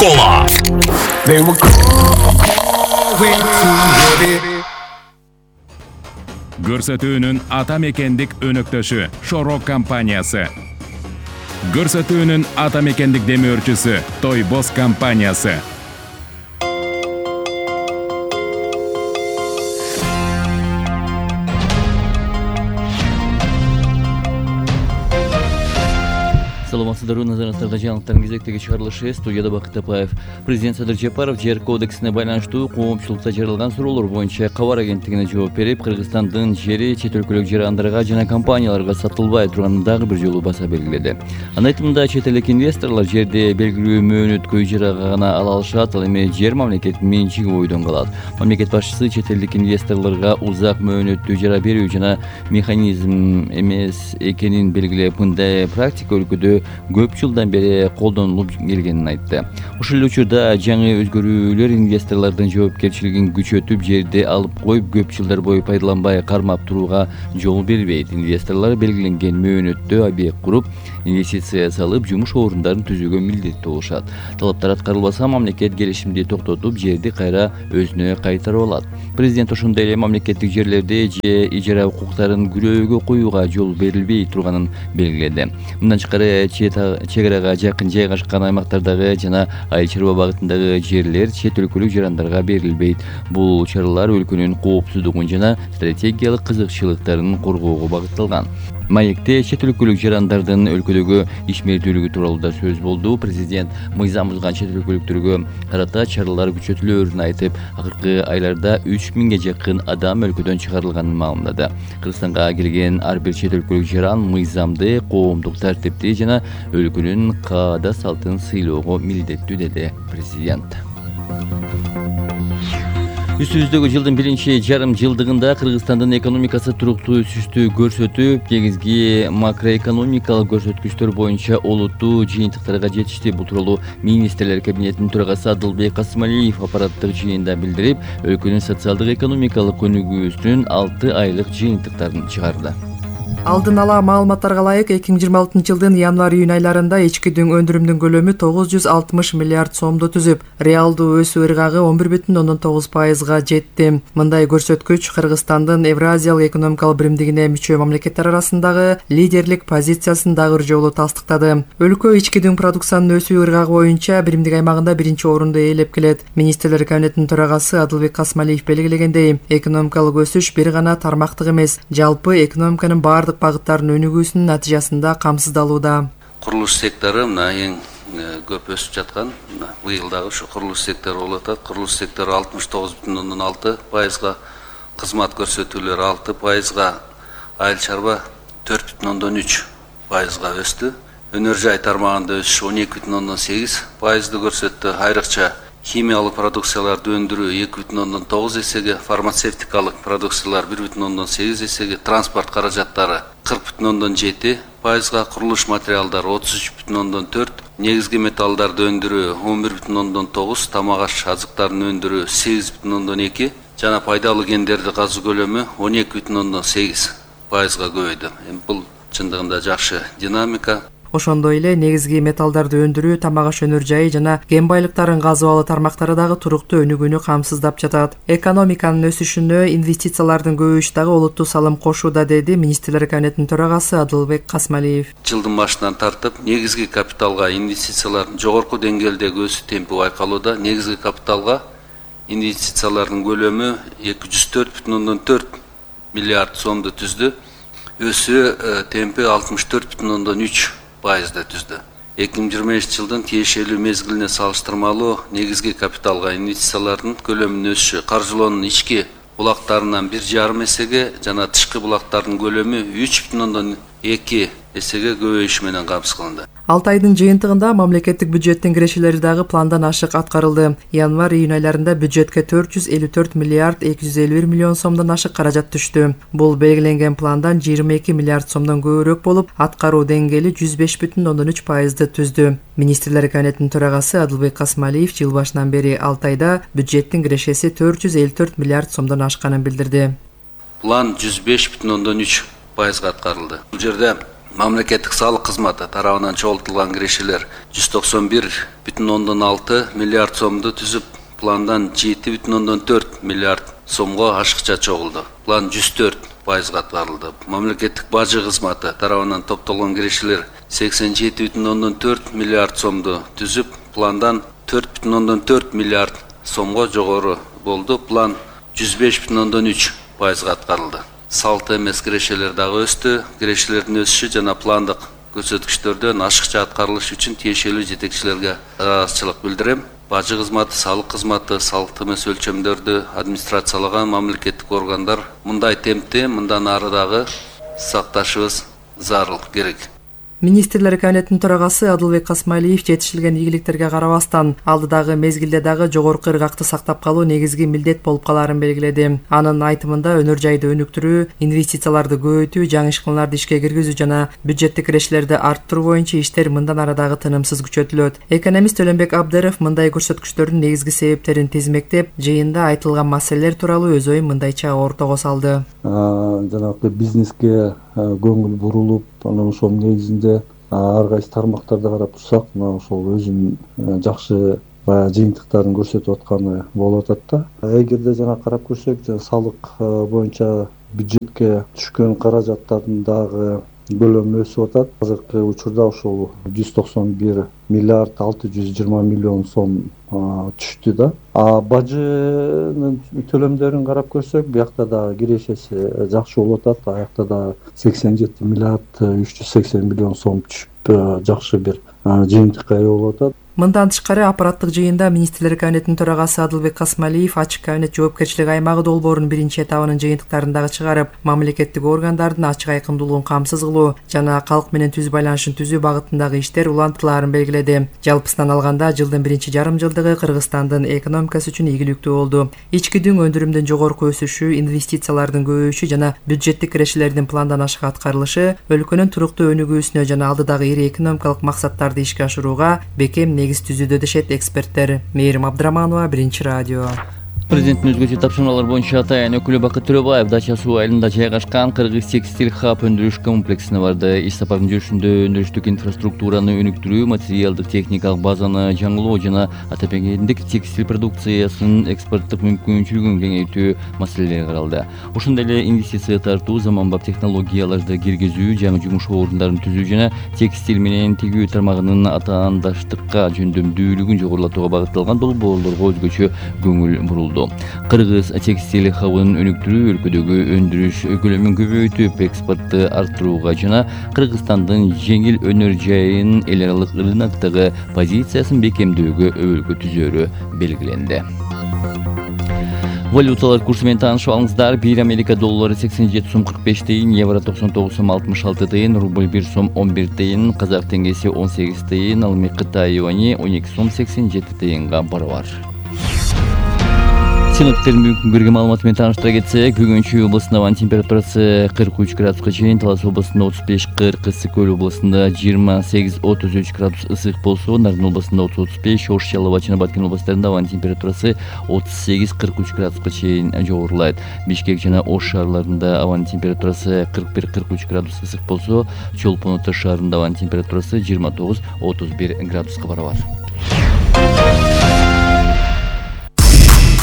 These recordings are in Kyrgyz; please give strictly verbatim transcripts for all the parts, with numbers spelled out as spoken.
Кола. Көрсөтүүнүн ата мекендик өнөктөшү Шорок компаниясы. Көрсөтүүнүн ата мекендик демөөрчүсү Тойбос компаниясы. Саламатсыздарбы, назарыңыздарда жаңылыктардын кезектеги чыгарылышы. Студияда Бакыт Апаев. Президент Садыр Жапаров жер кодексине байланыштуу коомчулукта жаралган суроолор боюнча Кабар агенттигине жооп берип, Кыргызстандын жери чет өлкөлүк жарандарга жана компанияларга сатылбай турганын дагы бир жолу баса белгиледи. Анын айтымында, чет элдик инвесторлор жерди белгилүү мөөнөткө ижарага гана ала алышат, ал эми жер мамлекеттин менчиги бойдон калат. Мамлекет башчысы чет элдик инвесторлорго узак мөөнөттүү ижара берүү жана механизм эмес экенин белгилеп, мындай практика өлкөдө көп жылдан бери колдонулуп келгенин айтты. Ошол эле учурда жаңы өзгөрүүлөр инвесторлордун жоопкерчилигин күчөтүп, жерди алып коюп, көп жылдар бою пайдаланбай кармап турууга жол бербейт. Инвесторлор белгиленген мөөнөттө объект куруп, инвестиция салып, жумуш орундарын түзүүгө милдеттүү болушат. Талаптар аткарылбаса, мамлекет келишимди токтотуп, жерди кайра өзүнө кайтарып алат. Президент ошондой эле мамлекеттик жерлерди же ижара укуктарын күрөөгө коюуга жол берилбей турганын белгиледи. Мындан тышкары, чек арага жакын жайгашкан аймактардагы жана айыл чарба багытындагы жерлер чет өлкөлүк жарандарга берилбейт. Бул чаралар өлкөнүн коопсуздугун жана стратегиялык кызыкчылыктарын коргоого багытталган. Маекте чет өлкөлүк жарандардын өлкөдөгү ишмердүүлүгү тууралуу да сөз болду. Президент мыйзам бузган чет өлкөлүктөргө карата чаралар күчөтүлөөрүн айтып, акыркы айларда үч миңге жакын адам өлкөдөн чыгарылганын маалымдады. Кыргызстанга келген ар бир чет өлкөлүк жаран мыйзамды, коомдук тартипти жана өлкөнүн каада салтын сыйлоого милдеттүү, деди президент. Үстүбүздөгү жылдын биринчи жарым жылдыгында Кыргызстандын экономикасы туруктуу өсүштү көрсөтүп, негизги макроэкономикалык көрсөткүчтөр боюнча олуттуу жыйынтыктарга жетишти. Бул тууралуу министрлер кабинетинин төрагасы Адылбек Касмалиев аппараттык жыйында билдирип, өлкөнүн социалдык экономикалык өнүгүүсүнүн алты айлык жыйынтыктарын чыгарды. Алдын ала маалыматтарга ылайык, эки миң жыйырма алтынчы жылдын январь-июнь айларында ички өндүрүмдүн көлөмү тогуз жүз алтымыш миллиард сомду түзүп, реалдуу өсүү ыргагы он бир бүтүн ондон тогуз пайызга жетти. Мындай көрсөткүч Кыргызстандын Евразиялык экономикалык биримдигине мүчө мамлекеттер арасындагы лидерлик позициясын дагы бир жолу тастыктады. Өлкө ички дүң продукциянын өсүү ыргагы боюнча биримдик аймагында биринчи орунду ээлеп келет. Министрлер кабинетинин төрагасы Адылбек Касмалиев белгилегендей, экономикалык өсүш бир гана тармактык эмес, жалпы экономиканын баардык багыттардын өнүгүүсүнүн натыйжасында камсыздалууда. Курулуш сектору мына эң көп өсүп жаткан, быйыл дагы ушу курулуш сектору болуп атат. Курулуш сектору алтымыш тогуз бүтүн ондон алты пайызга, кызмат көрсөтүүлөр алты пайызга, айыл чарба төрт бүтүн ондон үч пайызга өстү. Өнөр жай тармагында өсүш он эки бүтүн ондон сегиз пайызды көрсөттү. Айрыкча химиялык продукцияларды өндүрүү эки бүтүн ондон тогуз эсеге, фармацевтикалык продукциялар бир бүтүн ондон сегиз эсеге, транспорт каражаттары кырк бүтүн ондон жети пайызга, курулуш материалдары отуз үч бүтүн ондон төрт, негизги металлдарды өндүрүү он бир бүтүн ондон тогуз, тамак аш азыктарын өндүрүү сегиз бүтүн ондон эки жана пайдалуу кендерди казуу көлөмү он эки бүтүн ондон сегиз пайызга көбөйдү. Эми бул чындыгында жакшы динамика. Ошондой эле негизги металлдарды өндүрүү, тамак аш өнөр жайы жана кен байлыктарын казып алуу тармактары дагы туруктуу өнүгүүнү камсыздап жатат. Экономиканын өсүшүнө инвестициялардын көбөйүшү дагы олуттуу салым кошууда, деди министрлер кабинетинин төрагасы Адылбек Касмалиев. Жылдын башынан тартып, негизги капиталга инвестициялардын жогорку деңгээлдеги өсүү темпи байкалууда. Негизги капиталга инвестициялардын көлөмү эки жүз төрт бүтүн ондон төрт миллиард сомду түздү. Өсүү темпи алтымыш төрт бүтүн ондон үч пайызды түздү. эки миң жыйырма экинчи жылдын тиешелүү мезгилине салыштырмалуу негизги капиталга инвестициялардын көлөмүнүн өсүшү каржылоонун ички булактарынан бир жарым эсеге жана тышкы булактардын көлөмү үч бүтүн ондон эки эсеге көбөйүш менен камсыз кылынды. алты айдын жыйынтыгында мамлекеттик бюджеттин кирешелери дагы пландан ашык аткарылды. Январь-июнь айларында бюджетке төрт жүз элүү төрт миллиард эки жүз элүү бир миллион сомдон ашык каражат түштү. Бул белгиленген пландан жыйырма эки миллиард сомдон көбүрөөк болуп, аткаруу деңгээли жүз беш бүтүн ондон үч пайызды түздү. Министрлер кабинетинин төрагасы Адылбек Касмалиев жыл башынан бери алты айда бюджеттин кирешеси төрт жүз элүү төрт миллиард сомдон ашканын билдирди. План жүз беш бүтүн ондон үч пайызга аткарылды. Бул жерде мамлекеттик салык кызматы тарабынан чогултулган кирешелер жүз токсон бир бүтүн ондон алты миллиард сомду түзүп, пландан жети бүтүн ондон төрт миллиард сомго ашыкча чогулду. План жүз төрт пайызга аткарылды. Мамлекеттик бажы кызматы тарабынан топтолгон кирешелер сексен жети бүтүн ондон төрт миллиард сомду түзүп, пландан төрт бүтүн ондон төрт миллиард сомго жогору болду. План жүз беш бүтүн ондон үч пайызга аткарылды. Салт эмес кирешелер дагы өстү. Кирешелердин өсүшү жана пландык көрсөткүчтөрдөн ашыкча аткарылышы үчүн тиешелүү жетекчилерге ыраазычылык билдирем. Бажы кызматы, салык кызматы, салт эмес өлчөмдөрдү администрациялаган мамлекеттик органдар мындай темпти мындан ары дагы сакташыбыз зарыл керек. Министрлер кабинетинин төрагасы Адылбек Касмалиев жетишилген ийгиликтерге карабастан алдыдагы мезгилде дагы жогорку ыргакты сактап калуу негизги милдет болуп калаарын белгиледи. Анын айтымында өнөр жайды өнүктүрүү, инвестицияларды көбөйтүү, жаңы ишканаларды ишке киргизүү жана бюджеттик кирешелерди арттыруу боюнча иштер мындан ары дагы тынымсыз күчөтүлөт. Экономист Өлөнбек Абдыров мындай көрсөткүчтөрдүн негизги себептерин тизмектеп, жыйында айтылган маселелер тууралуу өз оюн мындайча ортого салды. Жанагы бизнеске көңүл бурулуп, анан ошол негизинде ар кайсы тармактарды карап турсак, мына ошол өзүнүн жакшы баягы жыйынтыктарын көрсөтүп атканы болуп атат да. Эгерде жана карап көрсөк, салык боюнча бюджетке түшкөн каражаттардын дагы көлөмү өсүп атат. Азыркы учурда ошол жүз токсон бир миллиард алты жүз жыйырма миллион сом түштү да. А бажынын төлөмдөрүн карап көрсөк, биякта да кирешеси жакшы болуп атат. Аякта да сексен жети миллиард үч жүз сексен миллион сом түшүп жакшы бир жыйынтыкка ээ болуп атат. Мындан тышкары аппараттык жыйында министрлер кабинетинин төрагасы Адылбек Касмалиев ачык кабинет жоопкерчилик аймагы долбоорунун биринчи этабынын жыйынтыктарын дагы чыгарып, мамлекеттик органдардын ачык айкындуулугун камсыз кылуу жана калк менен түз байланышын түзүү багытындагы иштер улантылаарын белгиледи. Жалпысынан алганда жылдын биринчи жарым жылдыгы Кыргызстандын экономикасы үчүн ийгиликтүү болду. Ички дүң өндүрүмдүн жогорку өсүшү, инвестициялардын көбөйүшү жана бюджеттик кирешелердин пландан ашык аткарылышы өлкөнүн туруктуу өнүгүүсүнө жана алдыдагы ири экономикалык максаттарды ишке ашырууга бекем негиз түзүүдө дешет эксперттер. Мээрим Абдыраманова, Биринчи радио. Президенттин өзгөчө тапшырмалар боюнча атайын өкүлү Бакыт Төрөбаев дача суу айылында жайгашкан Кыргыз текстиль хаб өндүрүш комплексине барды. Иш сапардын жүрүшүндө өндүрүштүк инфраструктураны өнүктүрүү, материалдык техникалык базаны жаңылоо жана атамекендик текстиль продукциясынын экспорттук мүмкүнчүлүгүн кеңейтүү маселелери каралды. Ошондой эле инвестиция тартуу, заманбап технологияларды киргизүү, жаңы жумуш орундарын түзүү жана текстиль менен тигүү тармагынын атаандаштыкка жөндөмдүүлүгүн жогорулатууга багытталган долбоорлорго өзгөчө көңүл бурулду. Кыргыз текстиль хабын өнүктүрүү, өлкөдөгү өндүрүш көлөмүн көбөйтүп, экспортты арттырууга жана Кыргызстандын жеңил өнөр жайын эл аралык рыноктогу позициясын бекемдөөгө өбөлгө түзөөрү белгиленди. Валюталар курсу менен таанышып алыңыздар. Бир Америка доллары сексен жети сом кырк беш тыйын, евро токсон тогуз сом алтымыш алты тыйын, рубль бир сом он бир тыйын, казак теңгеси он сегиз тыйын, ал эми Кытай юани он эки сом сексен жети тыйынга барабар. Синоптиктердин бүгүнкү күнгөргө маалыматы менен тааныштыра кетсек, бүгүн Чүй областында абанын температурасы кырк үч градуска чейин, Талас областында отуз беш кырк, Ысык Көл областында жыйырма сегиз отуз үч градус ысык болсо, Нарын областында отуз отуз беш, Ош, Жалал жана Баткен областарында абанын температурасы отуз сегиз кырк үч градуска чейин жогорулайт. Бишкек жана Ош шаарларында абанын температурасы кырк бир кырк үч градус ысык болсо, Чолпон Ата шаарында абанын температурасы жыйырма тогуз отуз бир градуска барабар.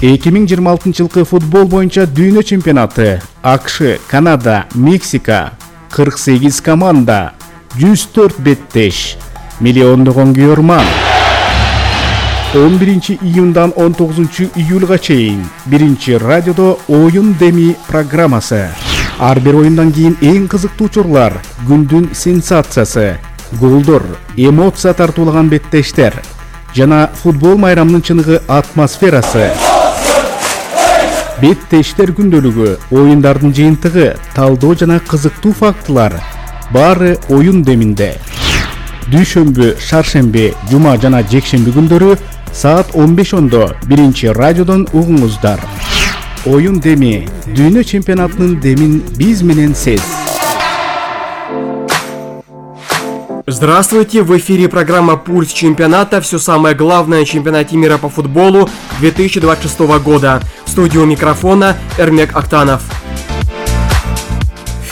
эки миң жыйырма алтынчы жылкы футбол боюнча дүйнө чемпионаты. АКШ, Канада, Мексика, кырк сегиз команда, жүз төрт беттеш, миллиондогон күйөрман. он биринчи июндан он тогузунчу июлга чейин Биринчи радиодо оюн деми программасы. Ар бир оюндан кийин эң кызыктуу учурлар, күндүн сенсациясы, голдор, эмоция тартуулаган беттештер жана футбол майрамынын чыныгы атмосферасы. Беттештер күндөлүгү, оюндардын жыйынтыгы, талдоо жана кызыктуу фактылар баары оюн деминде. Дүйшөмбү, шаршемби, жума жана жекшемби күндөрү саат он беш ондо Биринчи радиодон угуңуздар. Оюн деми, дүйнө чемпионатынын демин биз менен сез. Здравствуйте! В эфире программа «Пульс чемпионата». Все самое главное о чемпионате мира по футболу две тысячи двадцать шестого года. В студию микрофона Эрмек Актанов.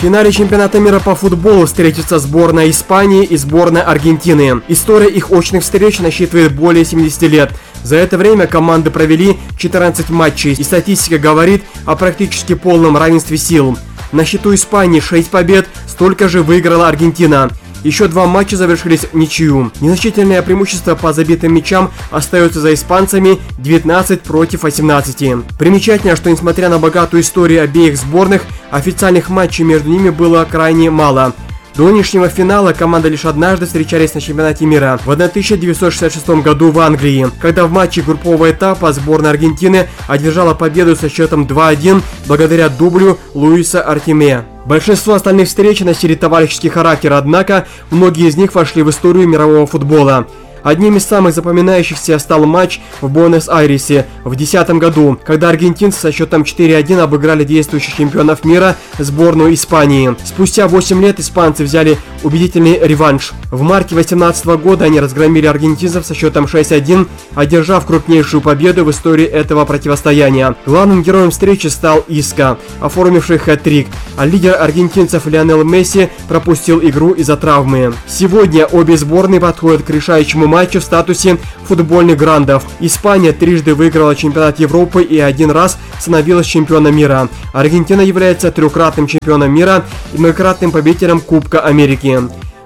В финале чемпионата мира по футболу встретятся сборная Испании и сборная Аргентины. История их очных встреч насчитывает более семидесяти лет. За это время команды провели четырнадцать матчей, и статистика говорит о практически полном равенстве сил. На счету Испании шесть побед, столько же выиграла Аргентина. Еще два матча завершились в ничью. Незначительное преимущество по забитым мячам остается за испанцами — девятнадцать против восемнадцати. Примечательно, что несмотря на богатую историю обеих сборных, официальных матчей между ними было крайне мало. До нынешнего финала команды лишь однажды встречались на чемпионате мира в тысяча девятьсот шестьдесят шестом году в Англии, когда в матче группового этапа сборная Аргентины одержала победу со счетом два-один благодаря дублю Луиса Артеме. Большинство остальных встреч носили товарищеский характер, однако многие из них вошли в историю мирового футбола. Одним из самых запоминающихся стал матч в Буэнос-Айресе в две тысячи десятом году, когда аргентинцы со счетом четыре-один обыграли действующих чемпионов мира сборную Испании. Спустя восемь лет испанцы взяли убедительный реванш. В марте две тысячи восемнадцатого года они разгромили аргентинцев со счетом шесть-один, одержав крупнейшую победу в истории этого противостояния. Главным героем встречи стал Иско, оформивший хэт-трик, а лидер аргентинцев Лионел Месси пропустил игру из-за травмы. Сегодня обе сборные подходят к решающему матчу в статусе футбольных грандов. Испания трижды выиграла чемпионат Европы и один раз становилась чемпионом мира. Аргентина является трехкратным чемпионом мира и многократным победителем Кубка Америки.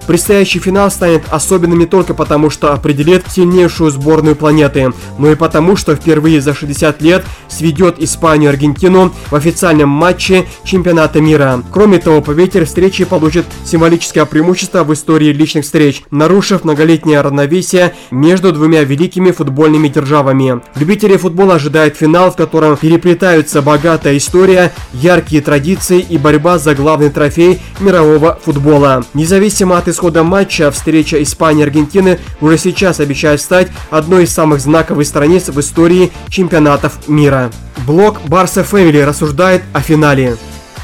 Предстоящий финал станет особенным не только потому, что определит сильнейшую сборную планеты, но и потому, что впервые за шестьдесят лет сведет Испанию и Аргентину в официальном матче чемпионата мира. Кроме того, победитель встречи получит символическое преимущество в истории личных встреч, нарушив многолетнее равновесие между двумя великими футбольными державами. Любителей футбола ожидает финал, в котором переплетаются богатая история, яркие традиции и борьба за главный трофей мирового футбола. Независимо от исхода матча, встреча Испании и Аргентины уже сейчас обещает стать одной из самых знаковых страниц в истории чемпионатов мира. Блог Barca Family рассуждает о финале.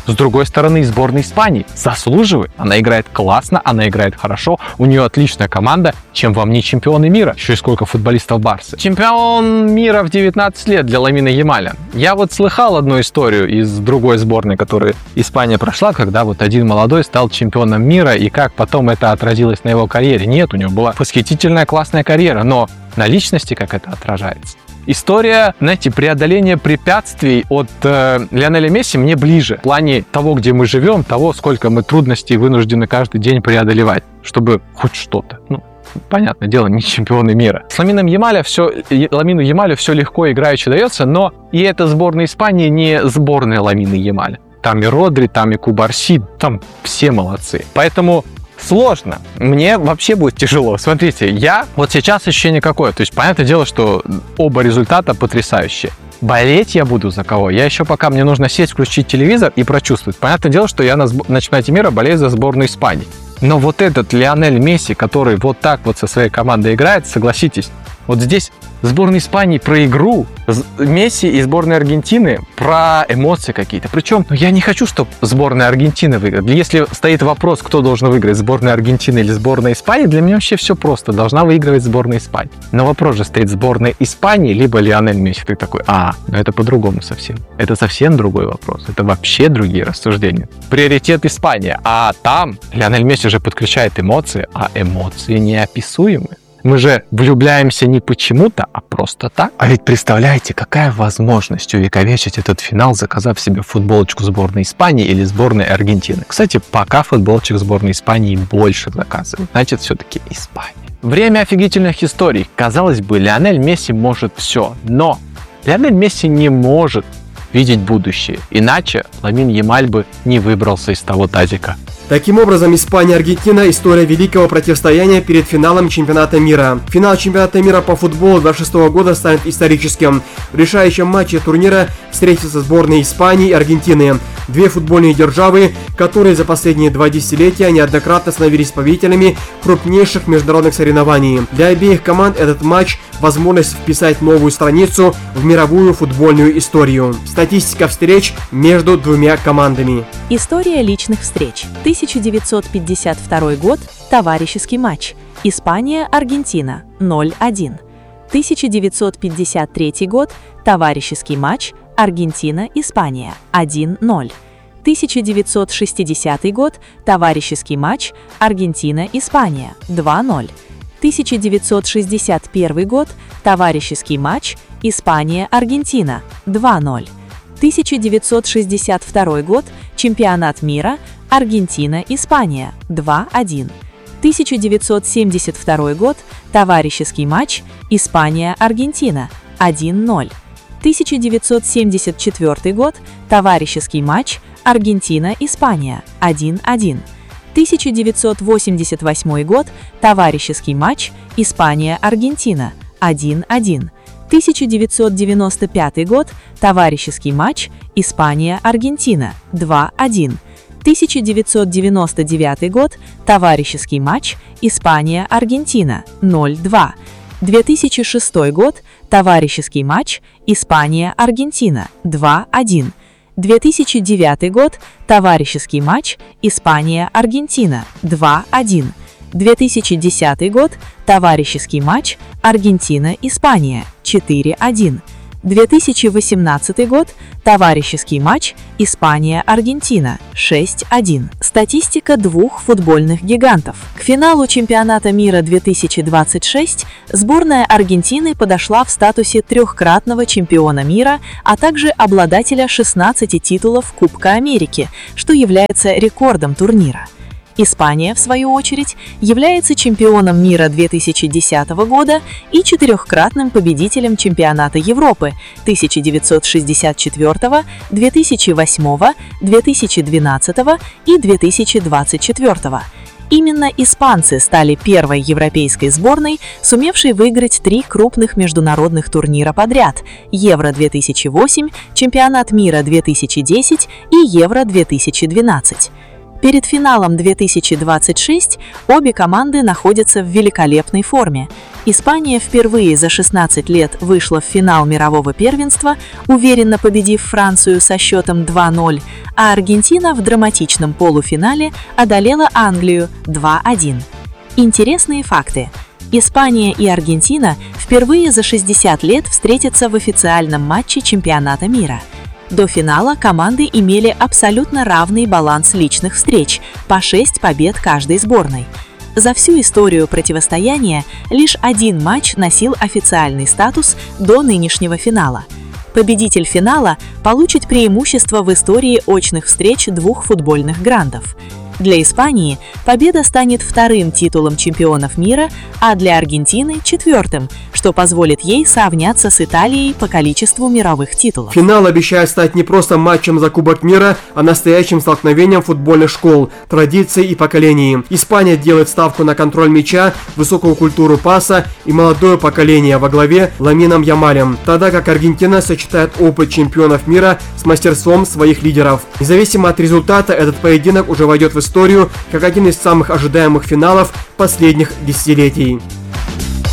С другой стороны, сборная Испании заслуживает. Она играет классно, она играет хорошо, у нее отличная команда. Чем вам не чемпионы мира? Еще и сколько футболистов Барсы. Чемпион мира в девятнадцать лет для Ламина Ямаля. Я вот слыхал одну историю из другой сборной, которую Испания прошла, когда вот один молодой стал чемпионом мира, и как потом это отразилось на его карьере. Нет, у него была восхитительная классная карьера, но на личности как это отражается? История, знаете, преодоления препятствий от э, Лионеля Месси мне ближе. В плане того, где мы живем, того, сколько мы трудностей вынуждены каждый день преодолевать, чтобы хоть что-то. Ну, понятное дело, не чемпионы мира. С Ламином Ямаля все, Ламину Ямалю все легко играюще дается, но и эта сборная Испании не сборная Ламина Ямаля. Там и Родри, там и Кубарси, там все молодцы. Поэтому сложно. Мне вообще будет тяжело. Смотрите, я вот сейчас ощущение какое. То есть, понятное дело, что оба результата потрясающие. Болеть я буду за кого? Я еще пока мне нужно сесть, включить телевизор и прочувствовать. Понятное дело, что я на, сб... на чемпионате мира болею за сборную Испании. Но вот этот Лионель Месси, который вот так вот со своей командой играет, согласитесь, вот здесь сборная Испании про игру, Месси и сборная Аргентины про эмоции какие-то. Причем, ну, я не хочу, чтобы сборная Аргентины выиграла. Если стоит вопрос, кто должен выиграть, сборная Аргентины или сборная Испании, для меня вообще все просто. Должна выигрывать сборная Испании. Но вопрос же стоит: сборная Испании либо Лионель Месси. Ты такой: а, ну это по-другому совсем. Это совсем другой вопрос. Это вообще другие рассуждения. Приоритет Испания. А там Лионель Месси же подключает эмоции, а эмоции неописуемы. Мы же влюбляемся не почему-то, а просто так. А ведь представляете, какая возможность увековечить этот финал, заказав себе футболочку сборной Испании или сборной Аргентины. Кстати, пока футболочек сборной Испании больше заказывают. Значит, все-таки Испания. Время офигительных историй. Казалось бы, Лионель Месси может все, но Лионель Месси не может видеть будущее. Иначе Ламин Ямаль бы не выбрался из того тазика. Таким образом, Испания и Аргентина – история великого противостояния перед финалом чемпионата мира. Финал чемпионата мира по футболу две тысячи двадцать шестого года станет историческим. В решающем матче турнира встретятся сборные Испании и Аргентины. Две футбольные державы, которые за последние два десятилетия неоднократно становились победителями крупнейших международных соревнований. Для обеих команд этот матч – возможность вписать новую страницу в мировую футбольную историю. Статистика встреч между двумя командами. История личных встреч. тысяча девятьсот пятьдесят второй год. Товарищеский матч. Испания-Аргентина. ноль один. тысяча девятьсот пятьдесят третий год. Товарищеский матч. Аргентина-Испания. один ноль. тысяча девятьсот шестидесятый год, товарищеский матч Аргентина-Испания два ноль. тысяча девятьсот шестьдесят первый год, товарищеский матч Испания-Аргентина два ноль. тысяча девятьсот шестьдесят второй год, чемпионат мира Аргентина-Испания два один. тысяча девятьсот семьдесят второй год, товарищеский матч Испания-Аргентина один ноль. тысяча девятьсот семьдесят четвёртый год, товарищеский матч Аргентина-Испания один один. тысяча девятьсот восемьдесят восьмой год, товарищеский матч Испания-Аргентина один один. тысяча девятьсот девяносто пятый год, товарищеский матч Испания-Аргентина два один. тысяча девятьсот девяносто девятый год, товарищеский матч Испания-Аргентина ноль два. две тысячи шестой год, товарищеский матч Испания-Аргентина два один. две тысячи девятый год, товарищеский матч Испания-Аргентина два один. две тысячи десятый год, товарищеский матч Аргентина-Испания четыре один. две тысячи восемнадцатый год, товарищеский матч Испания-Аргентина шесть один. Статистика двух футбольных гигантов. К финалу чемпионата мира две тысячи двадцать шесть сборная Аргентины подошла в статусе трехкратного чемпиона мира, а также обладателя шестнадцати титулов Кубка Америки, что является рекордом турнира. Испания, в свою очередь, является чемпионом мира две тысячи десятого года и четырехкратным победителем чемпионата Европы тысяча девятьсот шестьдесят четвёртого, две тысячи восьмого, две тысячи двенадцатого и две тысячи двадцать четвёртого. Именно испанцы стали первой европейской сборной, сумевшей выиграть три крупных международных турнира подряд – Евро две тысячи восемь, Чемпионат мира две тысячи десять и Евро две тысячи двенадцать. Перед финалом две тысячи двадцать шесть обе команды находятся в великолепной форме. Испания впервые за шестнадцать лет вышла в финал мирового первенства, уверенно победив Францию со счетом два ноль, а Аргентина в драматичном полуфинале одолела Англию два один. Интересные факты. Испания и Аргентина впервые за шестьдесят лет встретятся в официальном матче чемпионата мира. До финала команды имели абсолютно равный баланс личных встреч, по шесть побед каждой сборной. За всю историю противостояния лишь один матч носил официальный статус до нынешнего финала. Победитель финала получит преимущество в истории очных встреч двух футбольных грандов. Для Испании победа станет вторым титулом чемпионов мира, а для Аргентины – четвертым, что позволит ей сравняться с Италией по количеству мировых титулов. Финал обещает стать не просто матчем за Кубок мира, а настоящим столкновением футбольных школ, традиций и поколений. Испания делает ставку на контроль мяча, высокую культуру паса и молодое поколение во главе Ламином Ямалем, тогда как Аргентина сочетает опыт чемпионов мира с мастерством своих лидеров. Независимо от результата, этот поединок уже войдет в историю как один из самых ожидаемых финалов последних десятилетий.